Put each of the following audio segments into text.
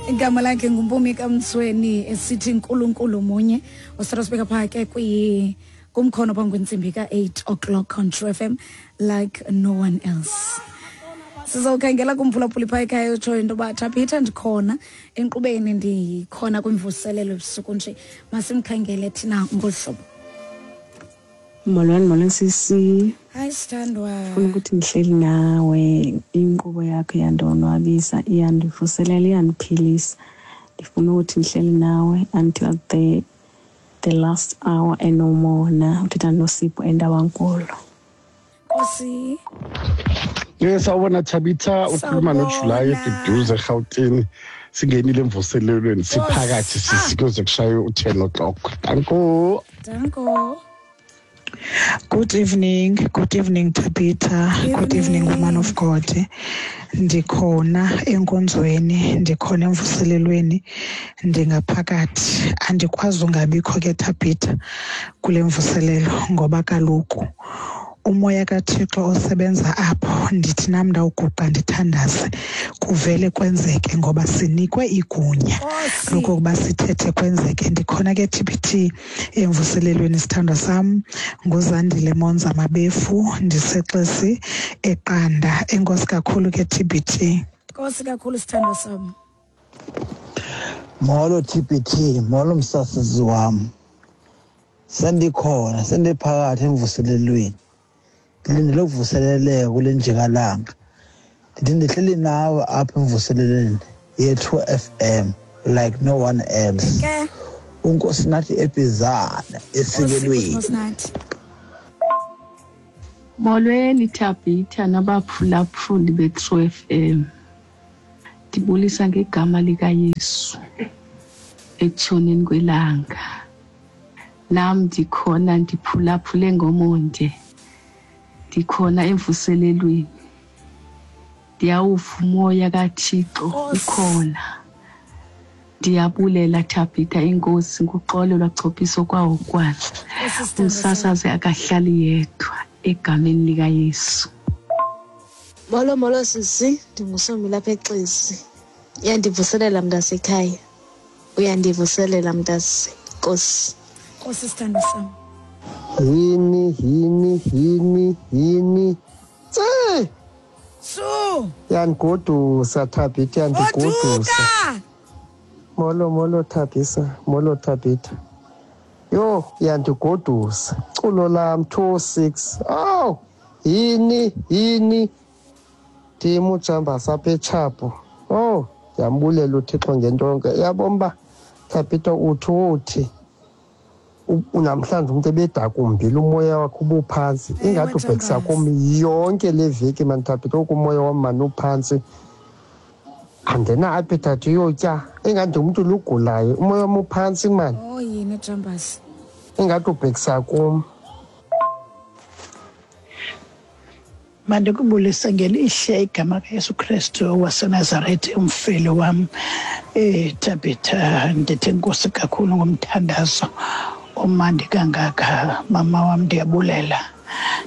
Igama lakhe nguMpumi kaMtsweni esithi Nkulunkulu munye. Usithatha sibeka phaa ke kwi kumkhono phambi kwentsimbi ka-8 o'clock on True FM like no one else. Sizawukhangela kumphulaphuli phaa ekhaya utshoyo into yoba Thabitha ndikhona enkqubeni ndikhona kwimvuselelo ebusuku nje. Masimkhangele thina ngolu hlobo. Molweni, molweni sisi. Hayi sithandwa. Funa ukuthi ndihleli nawe, inkqubo yakho iyandonwabisa, iyandivuselela, iyandiphilisa. Ndifuna ukuthi ndihleli nawe until the last hour and no more. Na uthetha noSipho eNtabankulu. Nkosi. Yes, sawubona Thabitha, ukhuluma noJuly eduduze eGauteng. Singenile emvuselelweni siphakathi sisi kuze kushaye u-10 o'clock. Danko. Danko. Good evening, good evening Tabitha, good evening woman of God. Ndikhona enkonzweni, ndikhona emvuselelweni, ndingaphakathi. Andikwazi ungabikho ke Tabitha kule mvuselelo ngoba kaloku umoya kaThixo osebenza apho, ndithi nam ndawuguqa ndithandaze kuvele kwenzeke ngoba sinikwe igunya lokokuba sithethe kwenzeke. Ndikhona ke TBT emvuselelweni sithandwa sam, nguZandile Monza Mabefu, ndisexesi eQanda. Enkosi kakhulu ke TBT. Nkosi kakhulu sithandwa sam. Molo TBT, molo msasazi wam. Sendikhona, sendiphakathi emvuselelweni. Ndilindele ukuvuseleleka kule njikalanga. Ndithi ndihleli nawe apha emvuselelweni ye-True FM like no one else. Ke. Unkosinathi Ebhizana esikelweni. Nkosinathi. Molweni Thabitha nabaphulaphuli be-True FM. Ndibulisa ngegama likaYesu ekutshoneni kwelanga. Nam ndikhona ndiphulaphule ngomonde. Ndikhona emvuselelweni. Ndiyawuva umoya kaThixo ukhona. Ndiyabulela Thabitha inkosi ngoxolo lwachophiso kwawo kwana. Umsasazi akahlali yedwa egameni likaYesu. Molo, molo sisi, ndinguSomi lapha eXesi. Uyandivuselela mntasekhaya. Uyandivuselela mntase. Nkosi. Nkosi sithandwa sam. Yini, yini, yini, yini. Tse! Su! Yandigodusa Thabitha, yandigodusa. Goduka! Molo, molo Thabisa, molo Thabitha. Yho, yandigodusa. Culo lam 26. Aw, yini, yini. Ndim uJambasa apha eTshapo. Oh, ndiyambulela uThixo ngento yonke. Uyabona uba Thabitha uthi uthi namhlanje umuntu ebedakumbile umoya wakhe ubuphantsi. Ingathi ubhekisa kum yonke le veki mani Thabitha, oku umoya wam mani uphantsi. Andina appetite yotya. Ingathi ndingumntu lugulayo, umoya wam uphantsi mani. Oh, yini Jambasi? Ingathi ubhekisa kum. Mandikubulise ngelihle igama kaYesu Kristu waseNazaretha, umfeli wam. Thabitha, ndithi enkosi kakhulu ngomthandazo omandi kangaka. Mama wam, ndiyabulela,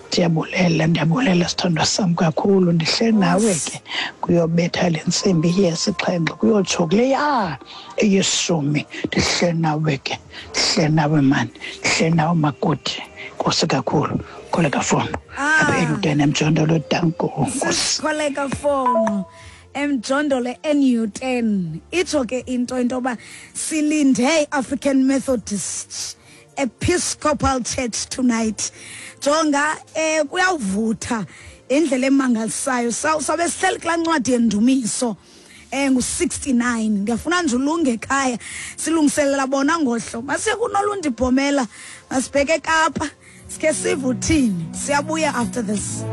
ndiyabulela, ndiyabulela sithandwa sam kakhulu. Ndihle nawe ke kuyobetha le ntsimbi yesixhenxe kuyotsho kuleya eyeshumi. Ndihle nawe ke, ndihle nawe mani, ndihle nawe makoti. Nkosi kakhulu. Kholeka Fono. Apha eLutene eMjondolo, danko Nkosi. Kholeka Fono eMjondolo eNewton. Itsho ke into yoba silinde iAfrican Methodist Episcopal Church tonight. Jonga, kuyawuvutha indlela emangalisayo. Sabe sihleli kulaa ncwadi yendumiso. Ngu-69. Ndiyafuna nje ulunge ekhaya. Silungiselela bona ngohlo. Masiye kuNolundi Bhomela. Masibheke eKapa. Sikhe sive uthini. Siyabuya after this.